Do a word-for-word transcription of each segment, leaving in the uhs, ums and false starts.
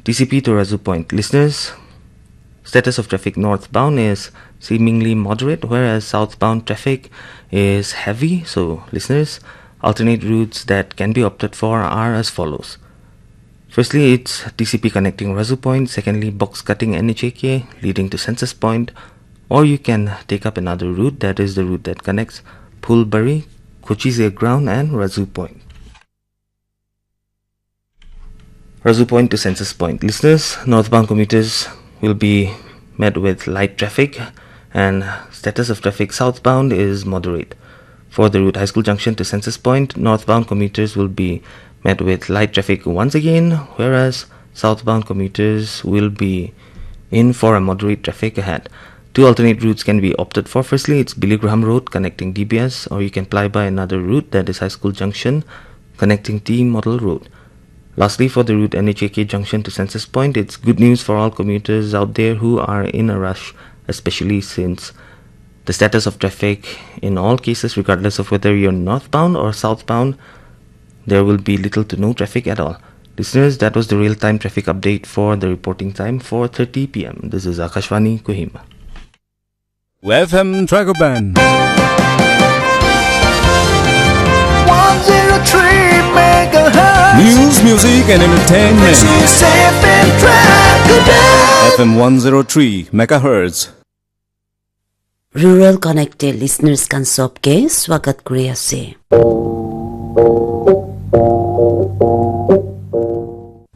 T C P to Razu Point. Listeners, status of traffic northbound is seemingly moderate, whereas southbound traffic is heavy. So, listeners, alternate routes that can be opted for are as follows. Firstly, it's T C P connecting Razu Point. Secondly, box cutting N H A K leading to Census Point. Or you can take up another route, that is the route that connects Phulbari, Kochize Ground, and Razu Point. Razu Point to Census Point. Listeners, northbound commuters will be met with light traffic, and status of traffic southbound is moderate. For the route High School Junction to Census Point, northbound commuters will be met with light traffic once again, whereas southbound commuters will be in for a moderate traffic ahead. Two alternate routes can be opted for. Firstly, it's Billy Graham Road connecting D B S, or you can ply by another route, that is High School Junction connecting T Model Road. Lastly, for the route N H A K Junction to Census Point, it's good news for all commuters out there who are in a rush, especially since the status of traffic in all cases, regardless of whether you're northbound or southbound, there will be little to no traffic at all. Listeners, that was the real-time traffic update for the reporting time, four thirty p m. This is Akashvani Kohima. F M Dragoban. One zero three megahertz. News, music, and entertainment. This is F M Dragoban. F M one zero three megahertz. Rural Connect te listeners khan sob ke swagat kuri ase.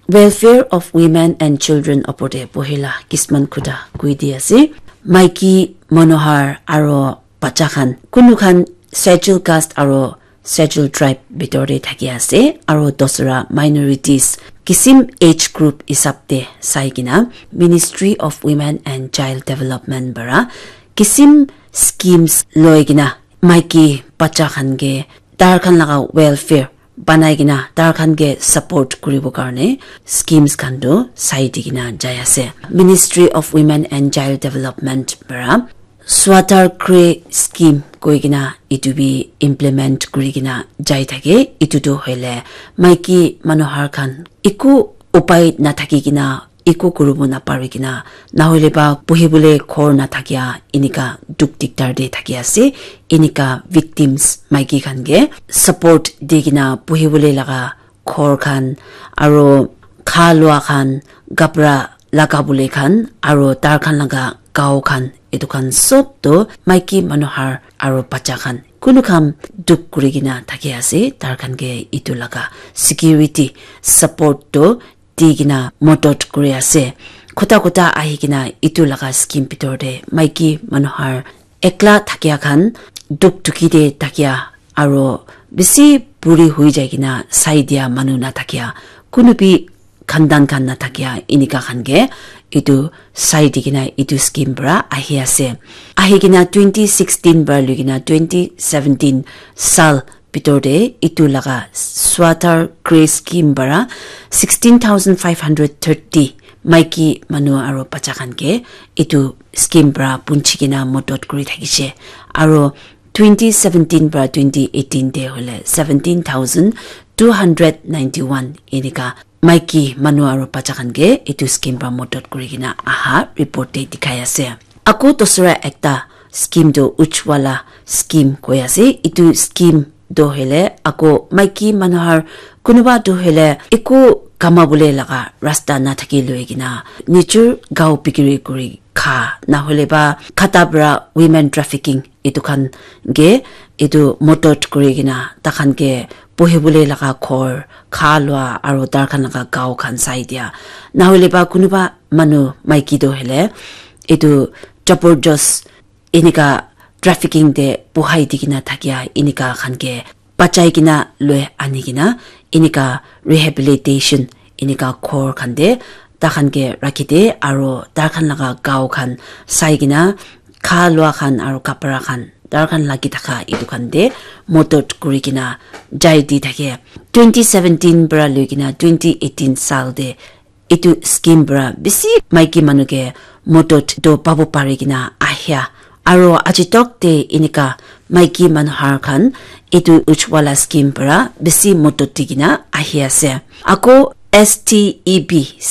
Welfare of Women and Children opor te pohila kisman khuta koi di ase. Maiki manu har aro bacha khan, kunu khan Scheduled Caste aro Scheduled Tribe bitor te thaki ase, aro dosra minorities kisim age group hisab te sai kena Ministry of Women and Child Development para kisim schemes loi kena maiki bacha khan ke tar khan laga welfare banai kena tar khan ke support kuribo karne schemes khan tu sai di kena jai ase. Ministry of Women and Child Development para Swatar Kre scheme koi kena itu bi implement kuri kena jai thake. Itu tu hoile maiki manu har khan eku upai nathaki kena, eku kuribo napari kena, nahoile ba buhibole ghor nathakia, enika dukh dikdar te thaki ase, enika victims maiki khan ke support di kena buhibole laga ghor khan, aro kha lua khan, kapra laga bole khan, aro tar khan laga gao khan, etu khan sob to maiki manu har aro bacha khan, kunu khan dukh kuri kena thaki ase, tar khan ke etu laga security support to di kena modot kuri ase. Khuta khuta ahi kena etu laga scheme bitor te maiki manu har ekla thakia khan, dukh dukhi te thakia, aro bisi buri hui jai kena sai dia manu na thakia, kunu bi khandan khan na thakia, enika khan ke etu sai di kena etu scheme para ahi ase. Ahi kena twenty sixteen para lui kena twenty seventeen sal bitor te etu laga Swatar Kre scheme para sixteen thousand five hundred thirty maiki manu aro bacha khan ke etu scheme para punchi kena modot kuri thakishe. Aro twenty seventeen para twenty eighteen te hoile seventeen thousand two hundred ninety one enika maiki manu aro bacha khan ke etu scheme para modot kuri kena aha report te dikhai ase. Ako dosra ekta scheme tu Ujjwala scheme koi ase. Etu scheme tu hoile ako maiki manu har kunuba tu hoile eku kama bole laga rasta nathaki loi kena nijor gao bikiri kuri kha, nahoile ba khata para women trafficking etu khan ke etu modot kuri kena takhan ke buhibole laga ghor, kha lua aro tar khan laga gao khan sai dia, nahoile ba kunuba manu maiki tu hoile etu jabardast enika trafficking te buhai di kena thakia enika khan ke bachai kena loi ani kena enika rehabilitation enika ghor khan te takhan ke rakhi de aro tar khan laga gao khan sai kena kha lua khan aro kapra khan tar khan lagi thaka etu khan te modot kuri kena jai di thake. Twenty seventeen para lui kena twenty eighteen sal te etu scheme para bisi maiki manu ke modot to pabo pari kena ahia. Aro aji tok te enika maiki manu har khan etu Ujjwala scheme para bisi modot di kena ahi ase. Ako S T E B